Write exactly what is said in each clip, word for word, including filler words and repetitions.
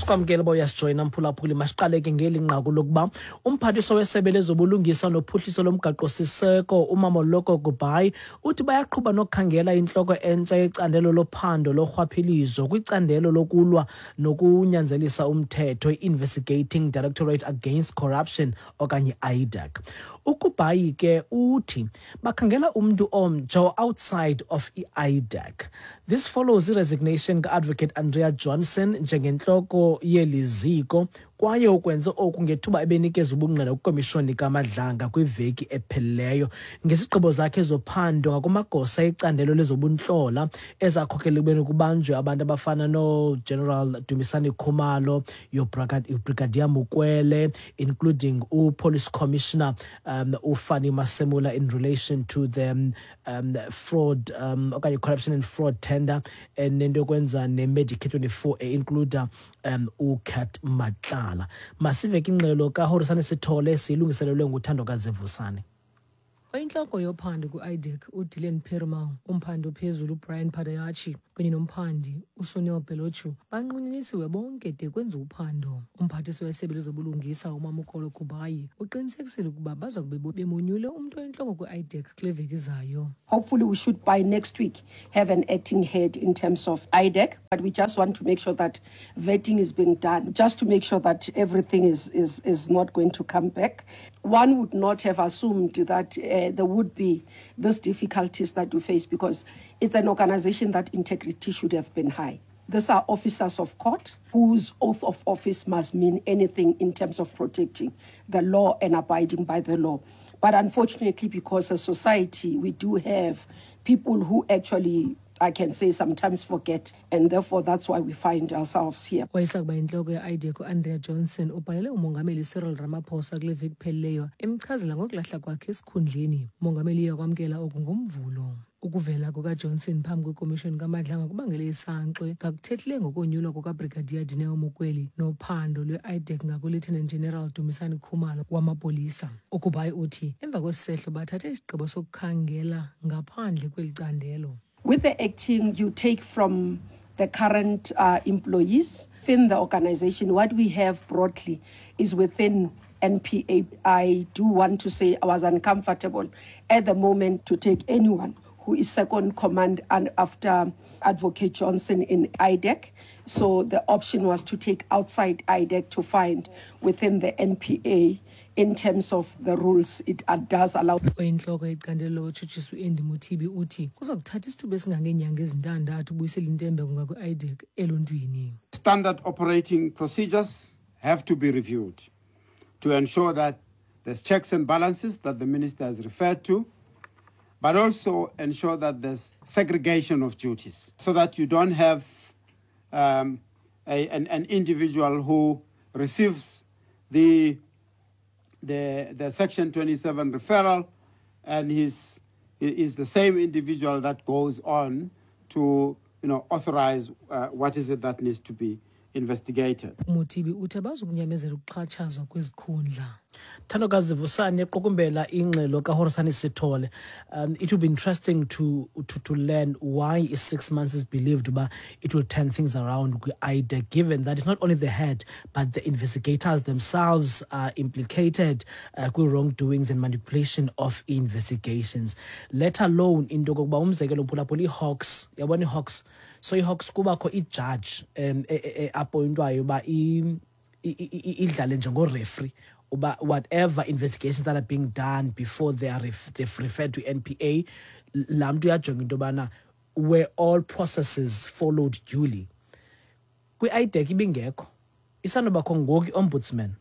Sikwamkele uba uyasijoyina, mphulaphuli. Masiqale ke ngeli nqaku lokuba umphathiswa wesebe lezobulungisa nophuhliso lomgaqo-siseko uMamoloko Kubayi uthi bayaqhuba nokukhangela intloko entsha yecandelo lophando lorhwaphilizo kwicandelo lokulwa nokunyanzelisa umthetho, i-Investigating Directorate Against Corruption okanye I D A C. UKubayi ke uthi bakhangela umntu omtsha outside of i-I D A C. This follows i-resignation ka-Advocate Andrea Johnson njengentloko yeli ziko, kwaye ukwenze oku ngethuba ebenikeza ubungqina kwikomishoni kaMadlanga kwiveki ephelileyo ngesigqibo zakhe zophando ngakumagosa ecandelo lezobuntlola ezakhokelela ekubeni kubanjwe abantu abafana noGeneral Dumisani Khumalo, uBrigadier Mokwele, including uPolice Commissioner um, uFannie Masemola in relation to the um, um, fraud um, okanye corruption and fraud tender enento yokwenza neMedicare twenty-four e-includa um, uCat Matlala. Masive ke ingxelo kaHorisane Sithole siyilungiselelwe nguThando Kazevusane. Oyintloko yophando kwi-I D A C uDylan Perumal, umphandi ophezulu uBrian Padayachi kunye nomphandi uSunil Balochoo banqunyanyisiwe bonke de kwenziwe uphando. Umphathiswa wesebe lezobulungisa uMamoloko Kubayi uqinisekisile ukuba baza kube bemonyule umntu oyintloko kwi-I D A C kule veki izayo. Hopefully, we should by next week have an acting head in terms of I D A C, but we just want to make sure that vetting is being done, just to make sure that everything is, is, is not going to come back. One would not have assumed that uh, there would be these difficulties that we face because it's an organization that integrity should have been high. These are officers of court whose oath of office must mean anything in terms of protecting the law and abiding by the law. But unfortunately, because as a society, we do have people who actually, I can say, sometimes forget, and therefore that's why we find ourselves here. Wayesakuba yintloko ye-I D A C uAndrea Johnson ubhalele umongameli Cyril Ramaphosa kule veki phelileyo emchazela ngokulahla kwakhe esikhundleni. Umongameli uya kwamkela oku ngoMvulo. Ukuvela kukaJohnson phambi kwekomishoni kaMadlanga kubangele isankxwe ngakuthethileyo ngokonyulwa kukaBrigadier Dineo Mokwele nophando lwe-I D A C ngakuLieutenant General Dumisani Khumalo wamapolisa. UKubayi uthi emva kwesi sehlo bathathe isigqibo sokukhangela ngaphandle kweli candelo. With the acting, you take from the current uh, employees within the organization. What we have broadly is within N P A. I do want to say I was uncomfortable at the moment to take anyone who is second command and after Advocate Johnson in I D A C. So the option was to take outside I D A C to find within the N P A. In terms of the rules, it uh, does allow. Oyintloko yecandelo lotshutshiso uAndy Mothibi uthi kuza kuthatha isithuba esingangeenyanga ezintandathu ubuyisela intembeko ngakwi-I D A C eluntwini. Standard operating procedures have to be reviewed to ensure that there's checks and balances that the minister has referred to, but also ensure that there's segregation of duties so that you don't have um, a, an, an individual who receives the, the, the Section twenty-seven referral and he's, is the same individual that goes on to you know, authorize uh, what is it that needs to be investigated. UMothibi uthi abazukunyamezela ukuxhatshazwa kwezikhundla. Thandokazi Vusane equkumbela ingxelo kaHorisane Sithole. Um, it will be interesting to, to, to learn why is six months is believed uba it will turn things around kwi-I D A C, given that it's not only the head but the investigators themselves are implicated uh, kwi-wrongdoings and manipulation of investigations, let alone into yokokuba umzekelo, phulaphula, ii-Hawks, yabona ii-Hawks, so ii-Hawks kubakho ijaji um e-appointwayo uba i- i- i- idlale njengorefri uba whatever investigations that are being done before they are ref, they've referred to N P A, laa mntu uyajonga into yobana were all processes followed duly. Kwi-I D A C ibingekho, isanobakho ngoku i-ombudsman.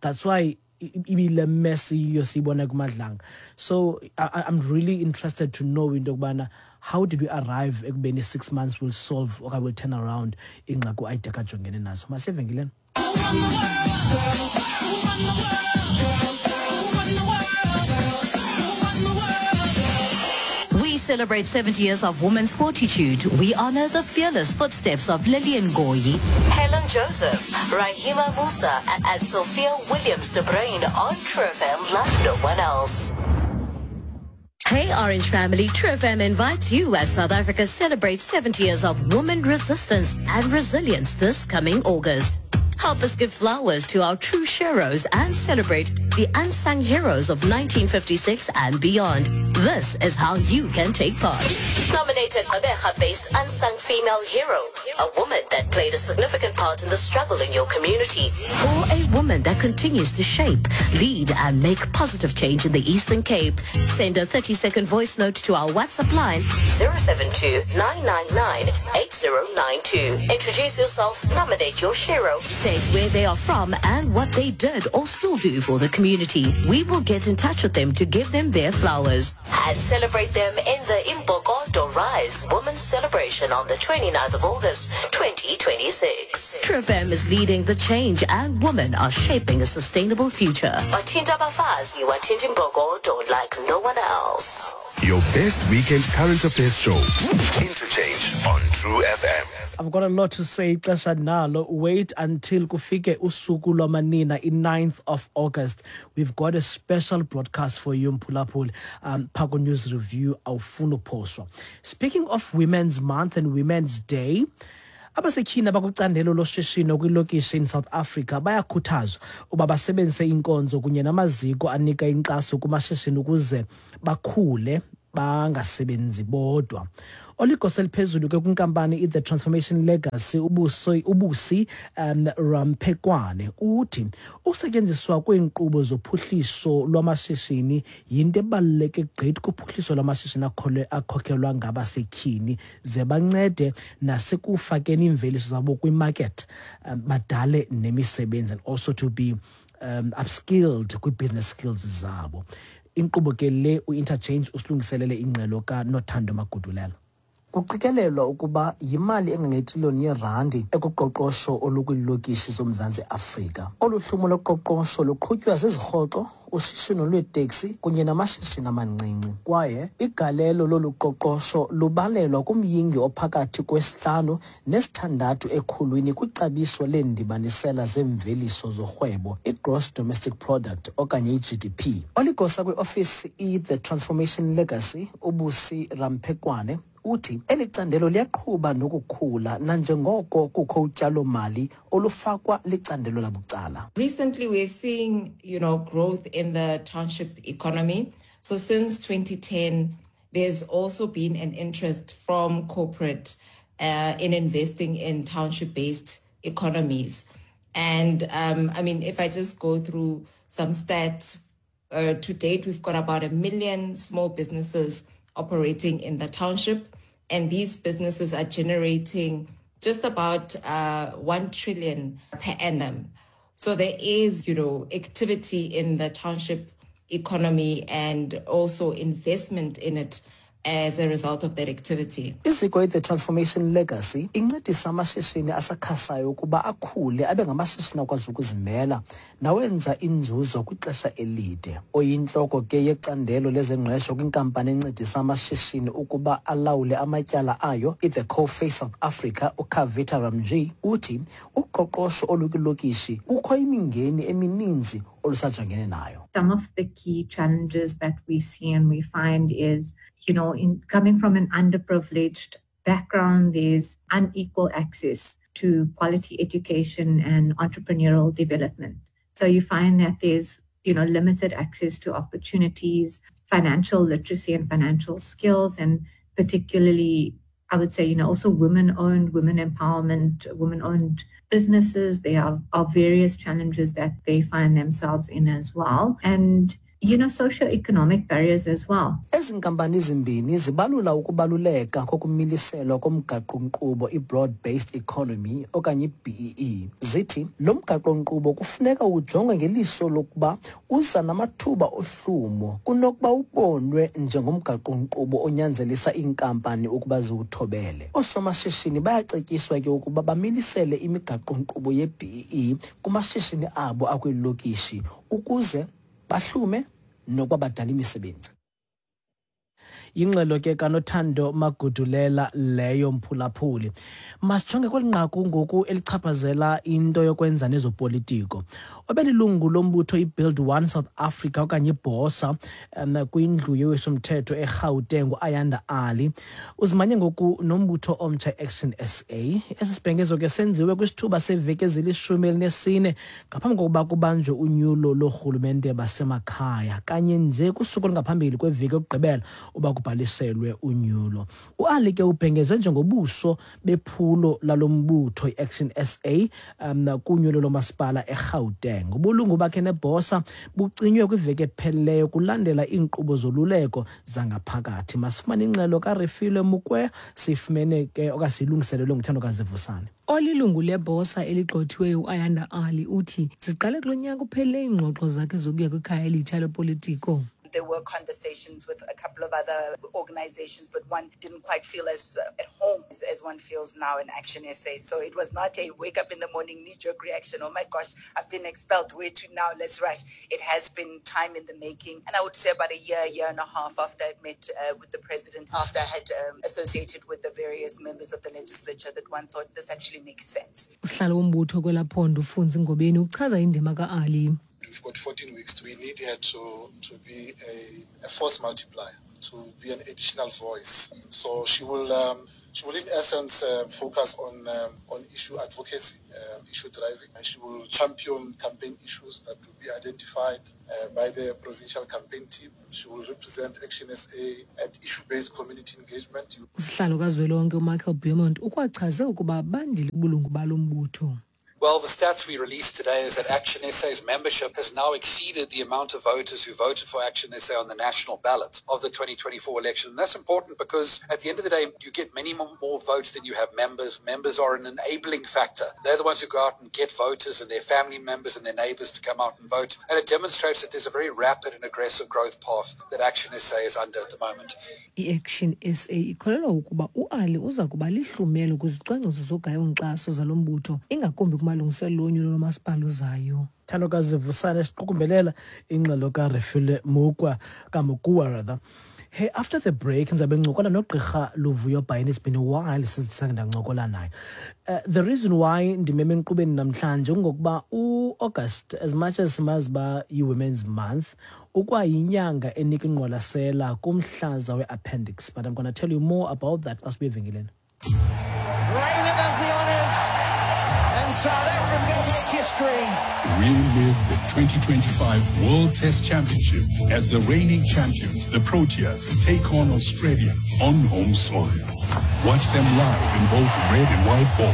That's why ibile mess yiyo siyibona kuMadlanga. So I, I'm really interested to know into yokubana how did we arrive ekubeni six months will solve okanye will turn around ingxaki u-I D A C ajongene nazo. Masiye evenkileni. Who run the world, girls? Who run the world, girls? Who run the world, girls? Who run the world, girls? We celebrate seventy years of women's fortitude. We honor the fearless footsteps of Lillian Ngoyi, Helen Joseph, Rahima Moosa, and Sophia Williams de Bruyn on True F M like no one else. Hey Orange family, True F M invites you as South Africa celebrates seventy years of woman resistance and resilience this coming August. Help us give flowers to our true sheroes and celebrate the unsung heroes of nineteen fifty-six and beyond. This is how you can take part. Nominate a Gqeberha-based unsung female hero, a woman that played a significant part in the struggle in your community, or a woman that continues to shape, lead, and make positive change in the Eastern Cape. Send a thirty-second voice note to our WhatsApp line zero seven two, nine nine nine, eight zero nine two. Introduce yourself, nominate your shero, state where they are from and what they did or still do for the community. We will get in touch with them to give them their flowers and celebrate them in the Imbokodo Rise Women's Celebration on the twenty-ninth of August, twenty twenty-six. True F M is leading the change and women are shaping a sustainable future. Bathinta abafazi, wathinta imbokodo like no one else. Your best weekend current affairs show, Interchange on True F M. I've got a lot to say, ixesha nalo. Wait until kufike usuku lwamanina, i-ninth of August. We've got a special broadcast for you, Mphulaphuli, um, Phako News Review, awufuni uphoswa. Speaking of Women's Month and Women's Day, abasetyhini abakwicandelo loshishino kwilokishi in South Africa bayakhuthazwa uba basebenzise iinkonzo kunye namaziko anika inkxaso kumashishini ukuze bakhule bangasebenzi bodwa. Oligosa eliphezulu ke kwinkampani i-The Transformation Legacy ubuso, uBusi um, Rampekwane uthi ukusetyenziswa kweenkqubo zophuhliso lwamashishini yinto ebaluleke gqithi kuphuhliso lwamashishini akhole-, akhokhelwa ngabasetyhini ze bancede nasekufakeni iimveliso zabo kwimarket, um, badale nemisebenzi and also to be um, upskilled kwi-business skills zabo. Inkqubo ke le u-Interchange usilungiselele ingxelo kaNothando Magudulela. Kuqikelelwa ukuba yimali engangetriliyoni yeerandi ekuqoqosho olukwiilokishi zoMzantsi Afrika. Olu hlumo loqoqosho luqhutywa zizirhoxo, ushishino lweeteksi kunye namashishini amancinci. Kwaye igalelo lolu qoqosho lubalelwa kumyingi ophakathi kwesihlanu nesithandathu ekhulwini kwixabiso leendibanisela zeemveliso zorhwebo, i-Gross Domestic Product okanye i-G D P. Oligosa kwiofisi i-The Transformation Legacy, uBusi Rampekwane, uthi eli candelo liyaqhuba nokukhula nanjengoko kukho utyalo-mali olufakwa licandelo labucala. Recently we're seeing, you know, growth in the township economy. So since twenty ten, there's also been an interest from corporate, uh, in investing in township-based economies. And, um, I mean, if I just go through some stats, uh, to date, we've got about a million small businesses operating in the township, and these businesses are generating just about, uh, one trillion per annum. So there is, you know, activity in the township economy and also investment in it as a result of that activity. Iziko i-The Transformation Legacy incedisa amashishini asakhasayo ukuba akhule abe ngamashishini akwazi ukuzimela nawenza inzuzo kwixesha elide. Oyintloko ke yecandelo lezengqesho kwinkampani encedisa amashishini ukuba alawule amatyala ayo, i-The Coface South Africa, uKavita Ramji, uthi uqoqosho olukwilokishi kukho imingeni emininzi olusajongene nayo. Some of the key challenges that we see and we find is, you know, in coming from an underprivileged background, there's unequal access to quality education and entrepreneurial development. So you find that there's, you know, limited access to opportunities, financial literacy and financial skills, and particularly, I would say, you know, also women-owned, women empowerment, women-owned businesses. There are, are various challenges that they find themselves in as well. And, you know, socioeconomic barriers as well. Ezi nkampani zimbini zibalula ukubaluleka kokumiliselwa komgaqo-nkqubo i-Broad-Based Economy okanye i-B E E. Zithi lo mgaqo-nkqubo kufuneka ujongwe ngeliso lokuba uza namathuba ohlumo kunokuba ubonwe njengomgaqo-nkqubo onyanzelisa iinkampani ukuba ziwuthobele. Oosomashishini bayacetyiswa ke ukuba bamilisele imigaqo-nkqubo ye-B E E kumashishini abo akwiilokishi ukuze bahlume nokuba badala imisebenzi. Yingxelo ke kaNothando Magudulela leyo, mphulaphuli. Masijonge kweli nqaku ngoku elichaphazela into yokwenza nezopolitiko. Obelilungu lombutho iBuild One South Africa okanye iBOSA um, kwindlu yowiso-mthetho eGauteng, uAyanda Ali, uzimanye ngoku nombutho omtsha Action S A. Esi sibhengezo ke senziwe kwisithuba seveki ezilishumi elinesine ngaphambi kokuba kubanjwe unyulo loorhulumente basemakhaya, kanye nje kusuku olungaphambili kweveki yokugqibela uba kubhaliselwe unyulo. UAli ke ubhengezwe njengobuso bephulo lalo mbutho iAction S A um, kunyulo lomasipala eGauteng. Ubulungu bakhe neBOSA bucinywe kwiveki ephelileyo kulandela iinkqubo zoluleko zangaphakathi. Masifumane ingxelo kaRefilwe Mokwe, sifumene ke okanye siyilungiselelwe nguThandokazi Vusane. Olilungu leBOSA eligxothiweyo uAyanda Ali uthi ziqale kulo nyaka uphelileyo iingxoxo zakhe zokuya kwikhaya elitsha lopolitiko. There were conversations with a couple of other organizations, but one didn't quite feel as uh, at home as, as one feels now in Action S A. So it was not a wake up in the morning, knee jerk reaction. "Oh my gosh, I've been expelled. Where to now? Let's rush." It has been time in the making. And I would say about a year, year and a half after I'd met uh, with the president, after I had um, associated with the various members of the legislature, that one thought this actually makes sense. Usihlalo wombutho kwelaa phondo uFunzi Ngobeni uchaza indima ka-Ali. We've got fourteen weeks. We need her to, to be a, a force multiplier, to be an additional voice. So she will, um, she will in essence uh, focus on, um, on issue advocacy, um, issue driving, and she will champion campaign issues that will be identified uh, by the provincial campaign team. She will represent Action S A at issue-based community engagement. Usihlalo kazwelonke uMichael Beaumont ukwachaze ukuba bandile ubulungu balo mbutho. Well, the stats we released today is that Action S A's membership has now exceeded the amount of voters who voted for Action S A on the national ballot of the twenty twenty-four election. And that's important because at the end of the day, you get many more, more votes than you have members. Members are an enabling factor. They're the ones who go out and get voters and their family members and their neighbors to come out and vote. And it demonstrates that there's a very rapid and aggressive growth path that Action S A is under at the moment. I-Action S A ikholelwa ukuba uAli uza kuba lihlumelo kwizicwangciso zogayo-nkxaso zalo mbutho, ingakumbi kumalungiselelo onyulo lomasipala ozayo. Thandokazi Vusane siqukumbelela ingxelo kaRefilwe Mukwa, kaMukua rather. Hey, after the break ndizabe ngincokola nogqirha Luvuyo Bayeni. It's been a while since sake ndancokola naye. Uh, the reason why ndimeme enkqubeni namhlanje kungokuba uAugust, as much as simazi uba yi-Women's Month, ukwayinyanga enika ingqwalasela kumhlaza we-appendix. But I'm going to tell you more about that xa sibuya evenkileni. Raina does the honours, and South Africa make history. Relive the twenty twenty-five World Test Championship as the reigning champions, the Proteas, take on Australia on home soil. Watch them live in both red and white ball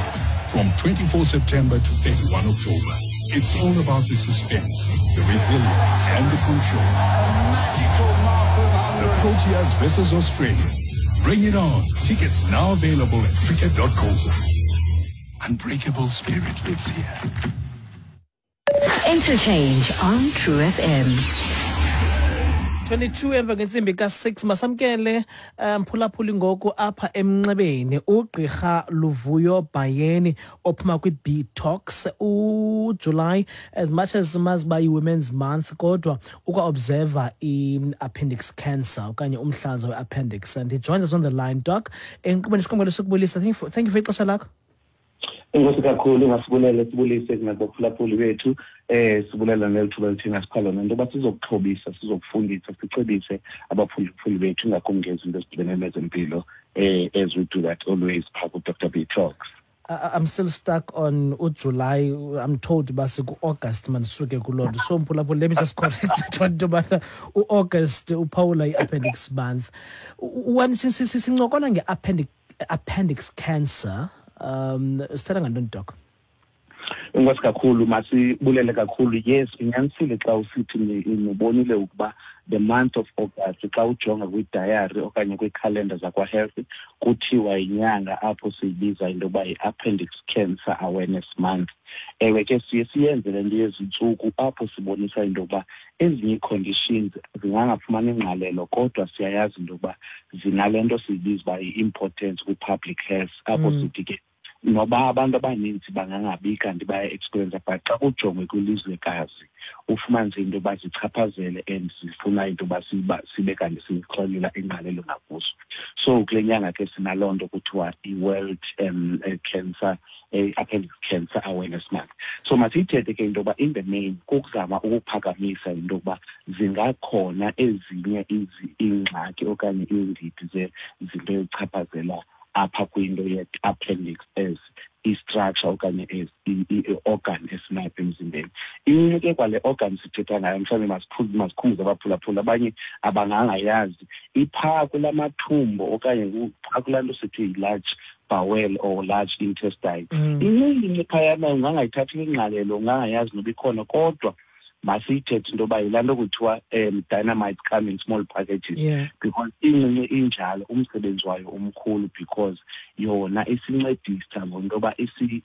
from twenty-four September to thirty-one October. It's all about the suspense, the resilience, and the control. The Proteas versus Australia. Bring it on. Tickets now available at cricket dot co. Unbreakable spirit lives here. Interchange on True F M. twenty-two emva kwentsimbi ka six. Masamkele mphulaphuli ngoku apha emnxebeni ugqirha Luvuyo Bayeni ophuma kwi-B-Talks. UJuly, as much as simazi uba yi-Women's Month, kodwa ukwa-observa i-appendix cancer okanye umhlaza we-appendix, and he joins us on the line. Doc, enkqubeni siqongelo sokubulisa. Thank you for, thank you for ixesha lakho. Enkosi kakhulu, ngasibulele, sibulise nakubaphulaphuli bethu. eh sibulela nelithuba elithina sipha lona into yoba sizokuxhobisa, sizokufundisa, sicebise abaphulaphuli bethu, ingakumbi ngezinto ezidibene nezempilo, eh as we do that always phaa ku-Doctor B Talks. I- I'm still stuck on uJuly. I'm told uba siku-August, mandisuke kuloo nto. So mphulaphuli, let me just correct that one, into yobana uAugust uphawula i-appendix month. When sincokola nge-appendix appendix cancer, um sithetha ngantoni, Doc? Enkosi kakhulu, masibulele kakhulu. Yes, unyanisile xa usithi nibonile ukuba the month of August, xa ujonga kwidayari okanye kwikhalenda zakwa-health, kuthiwa yinyanga apho siyibiza into yoba yi-Appendix Cancer Awareness Month. Ewe ke, siye siyenze le nto yezintsuku apho sibonisa into yokuba ezinye ii-conditions zingangafumani ingqalelo, kodwa siyayazi into yokuba zinale nto siyibiza uba yi-importance kwi-public health, apho Mm. sithi ke Noba abantu abaninzi bangangabi kanti baya-experience, but xa kujongwe kwilizwekazi ufumanise into yoba zichaphazele and zifuna into yoba sibe kanti sixelela ingqalelo ngakuso. So kule nyanga ke sinaloo nto kuthiwa i-World um, Cancer Appendix Cancer Awareness Month. So masiyithethe ke into yoba in the main kukuzama ukuphakamisa into yokuba zingakhona ezinye iingxaki okanye iindidi zezinto ezichaphazela apha kwinto ye-appendix as i-structure okanye as i-organ esinapha emzimbeni. Incinci ke kwale organ sithetha ngayo, mhlawumbi masikhumbuze abaphulaphula abanye abangangayazi, iphaa kula mathumbo okanye phaa kulaa nto sithi yi-large bowel or large intestine. Incinci phayana ungangayithathi ingqalelo, ungangayazi noba ikhona, kodwa masiyithethe into yoba yilaa nto kuthiwa um dynamite come in small packages. Yeah. Because incinci injalo umsebenzi wayo umkhulu, because yona isincedisa ngento yoba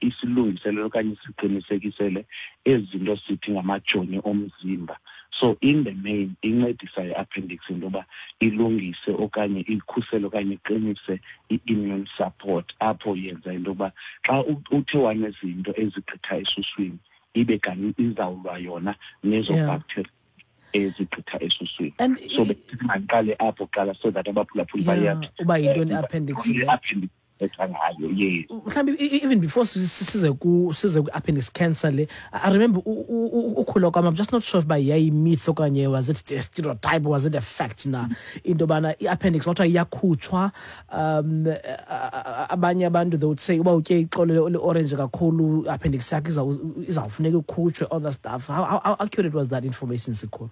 isilungiselele okanye isiqinisekisele ezi zinto sithi ngamajoni omzimba. So in the main incedisa i-appendix into yoba ilungise okanye ikhusele okanye iqinise i-immune support, apho yenza into yoba xa uthe wanezinto ezigqitha esuswini ibe kanti izawulwa yona nezo bacteria ezigqitha esuswini. So mandiqale apho kuqala so that abaphulaphuli bayathi uba yintoni i-appendix le. I-appendix ngayo, yes. Mhlawumbi even before size ku size ku-appendix cancer le, I remember ukhula kwam, I'm just not sure if yayi-myth okanye was it a stereotype, was it a fact na, into yobana i-appendix kwathiwa iyakhutshwa. Um abanye abantu they would say uba utye ixolo le-orange kakhulu, i-appendix yakho izawufuneka ikhutshwe, all that stuff. How, how accurate was that information, Sikhulu?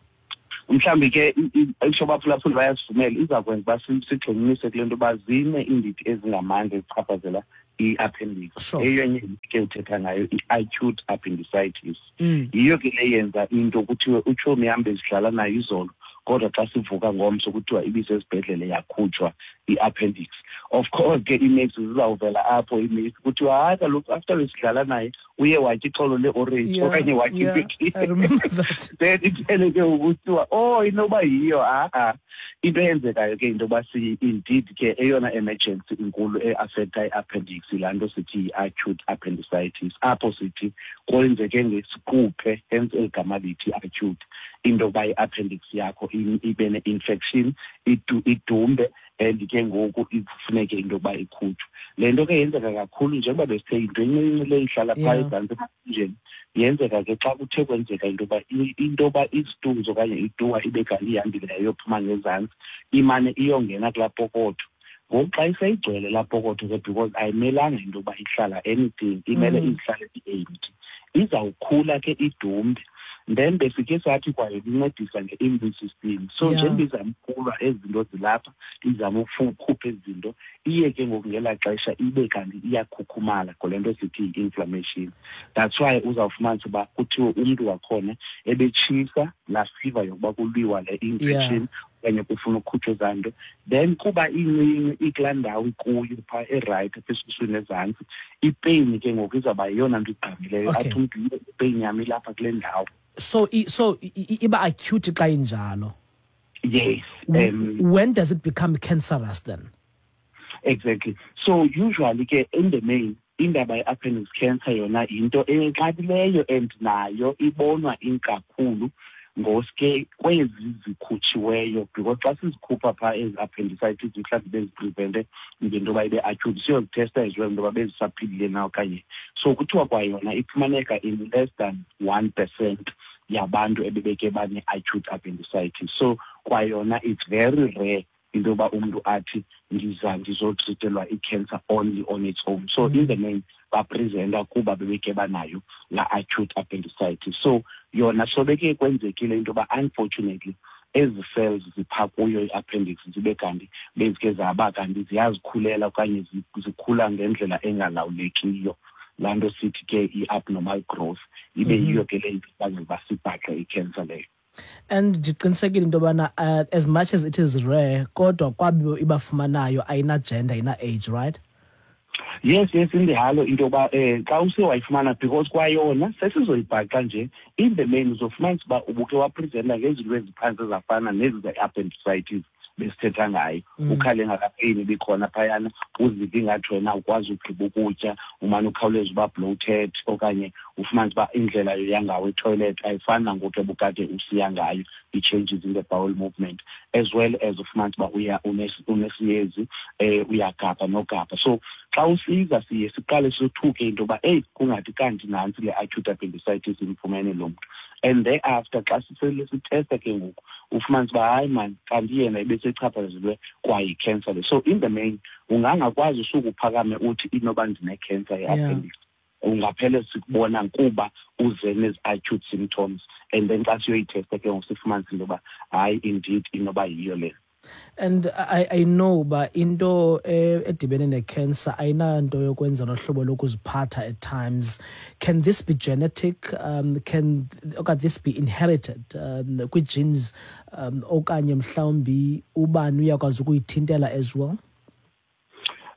Mhlawumbi ke isho abaphulaphuli bayasivumela, iza kwenza uba sigxininise kule nto uba zine iindidi ezingamandla ezichaphazela i-appendix. Eyonye ke uthetha ngayo i-acute appendicitis. Yiyo ke le yenza into kuthiwe utshomi yam bezidlala nayo izolo, kodwa xa sivuka ngomso kuthiwa ibisesibhedlele yakhutshwa i-appendix. Of course ke ii-mates zizawuvela apho, ii-mates kuthiwa hayi kaloku after besidlala naye uye watya ixolo le-orange okanye watya I remember that. Then iphele ke ukuthiwa oh inoba yiyo. A-a into eyenzekayo ke into yoba si indeed ke eyona emergency inkulu e-affecta i-appendix yilaa nto sithi yi-acute appendicitis, apho sithi kwenzeke ngesiquphe, hence eli gama lithi acute, into yokuba i-appendix yakho ibe ne-infection, idumbe, and ke ngoku ifuneke into yokuba ikhutshwe. Le nto ke yenzeka kakhulu njengoba besithe yinto encinci le ihlala phaa ezantsi emathunjeni. Yenzeka ke xa kuthe kwenzeka into yoba into yoba isituzo okanye ituwa ibe kanti ihambile yayophuma ngezantsi, imane iyongena kulaa pokotho. Ngoku xa iseyigcwele laa pokotho ke, because ayimelanga into yoba ihlala anything, imele izihlale i-empty, izawukhula ke idumbe. Then besike sathi kwaye incedisa nge-immune system. So njengoba izama ukulwa ezi zinto zilapha, izama ukukhupha ezi zinto, iye ke ngoku ngelaa xesha ibe kanti iyakhukhumala ngole nto sithi yi-inflammation. That's why uzawufumanisa uba kuthiwe umntu wakhona ebetshisa laa fever yokuba kulwiwa le infection okanye kufuna ukukhutshwa ezaa nto. Then kuba incinci ikulaa ndawo ikuyo phaa erayithi apha esuswini ezantsi, ipeyini ke ngoku izawuba yeyona nto igqamileyo. Athi umntu ipeyini yam ilapha kule ndawo. So, so iba acute xa injalo. Yes. Um, when does it become cancerous then? Exactly. So usually ke in the main indaba ye-appendix cancer yona yinto enqabileyo and nayo ibonwa inkakhulu ngoske kwezi zikhutshiweyo, because xa sizikhupha phaa ezi appendicitis mhlawumbi beziprevente ngento yoba ibe acute, siyozithesta as well into yoba bezisaphilile na okanye. So kuthiwa kwayona ifumaneka in less than one percent yabantu ebebeke bane-acute appendicitis. So kwayona it's very rare into yoba umntu athi ndiza ndizotritelwa i-cancer only on its own. So mm. in the main bapresenta kuba bebeke banayo la acute appendicitis. So yona sobeke kwenzekile into yoba unfortunately ezi cells zipha kuyo i-appendix zibe kanti bezike zaba kanti ziyazikhulela okanye zikhula ngendlela engalawulekiyo, laa nto sithi ke i-abnormal growth, ibe yiyo ke le ibangela uba sibhaqe i-cancer leyo. And ndiqinisekile into yobana uh, as much as it is rare, kodwa kwabo ibafumanayo ayina-gender, ayina-age, right? Yes, yes, indihalo into yoba um xa use wayifumana, because kwayona sesizoyibhaqa nje in the main uzofumanisa uba ubuke wapresenta ngezinto eziphantsi ezafana nezi ze-appendicitis besithetha ngayo. Ukhale ngakapain ibikhona phayana, uzive ingathi wena ukwazi ugqiba ukutya, umane ukhawuleza uba bloated okanye ufumanise uba indlela yoya ngawo etoilet ayifani nangoku ebukade usiya ngayo, i-changes in the bowel movement, as well as ufumanise uba uya unesiyezi, um uyagabha nogabha. So xa usiza siye siqale sothuke into yoba eyi kungathi kanti nantsi le acute appendicitis imfumene lo mntu. And thereafter xa sisele sitesta ke ngoku ufumanise uba hayi man, kanti yena ebesechaphazelwe kwayikhensa le. So in the main ungangakwazi usuke uphakame uthi inoba ndinekhensa ye-appendix, ungaphele sikubona kuba uze nezi-acute symptoms, and then xa siyoyithesta ke ngoku sifumanise into yoba hayi indeed inoba yiyo le. And I, I know uba into edibene ne-cancer ayinanto yokwenza nohlobo lokuziphatha at times. Can this be genetic? Um, can okanye this be inherited um, kwii-genes um, okanye mhlawumbi ubani uyakwazi ukuyithintela as well?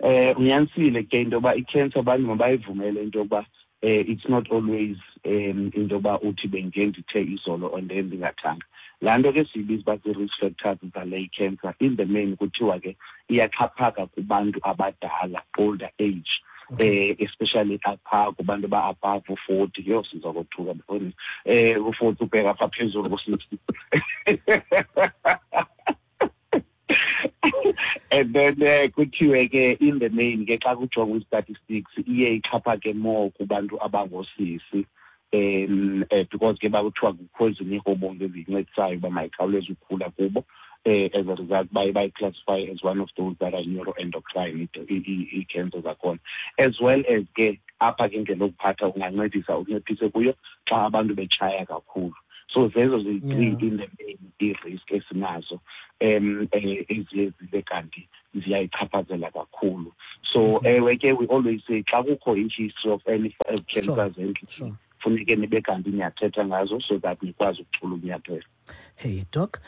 Eh unyanisile ke into yoba i-cancer abantu mabayivumele into yokuba eh it's not always um into yoba uthi bendike ndithe izolo and then ndingathanga. Laa nto ke siyibiza uba zii-risk factors zale cancer, in the main kuthiwa ke iyaxhaphaka kubantu abadala, older age, eh especially apha kubantu ba-above forty. Yho, siza kothuka before eh u-forty ubheka apha phezulu ku-sixty. And then uh, kuthiwe ke in the main ke xa kujongwa i-statistics iye ixhaphake more kubantu abangoosisi, um uh, because ke bakuthiwa kukho ezinye ii-hormones eziyincedisayo uba mayikhawuleze ukukhula kubo. Uh, as a result baye bayiclassify as one of those that are neuroendocrine ii-cancer zakhona, as well as ke apha ke indlela yokuphatha ungancedisa unciphise kuyo xa abantu betshaya kakhulu. So zezo ziyi-three in the main ii-risk esinazo um eziye zibe kanti ziyayichaphazela kakhulu. So ewe ke we always say xa kukho i-history of any cancers endlini funeke nibe kanti niyathetha ngazo so that nikwazi ukuchula unyathelo. Hey Doc,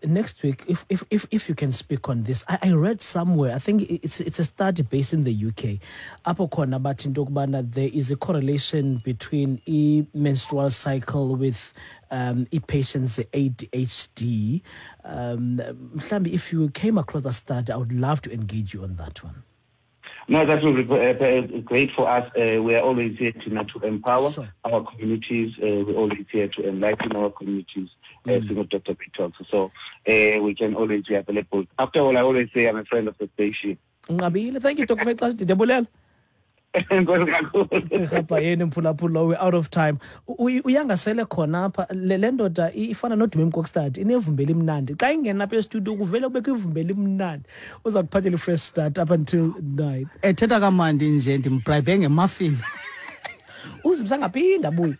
next week, if if if, if you can speak on this, I, I read somewhere, I think it's it's a study based in the U K. Apho khona bathi into yokubana there is a correlation between a menstrual cycle with um i-patients A D H D. Um, mhlawumbi if you came across a study, I would love to engage you on that one. No, that will be uh, great for us. Uh, we are always here to, not to empower sure. our communities. Uh, we're always here to enlighten our communities, uh, mm. Single Doctor Talks. So uh, we can always be available. After all, I always say I'm a friend of the station. Nqabile. Thank you, Doctor Fexash. Ndiyabulela. We're out of time. Uyangasele khona apha le ndoda ifana noDumi Mkokstad inevumba elimnandi. Xa ingena apha estudio kuvele kubekho ivumba elimnandi. Uza kuphathela i-fresh start up until nine. Ethetha kamandi nje ndimbribe ngemuffin. Uzimsangaphinda buye.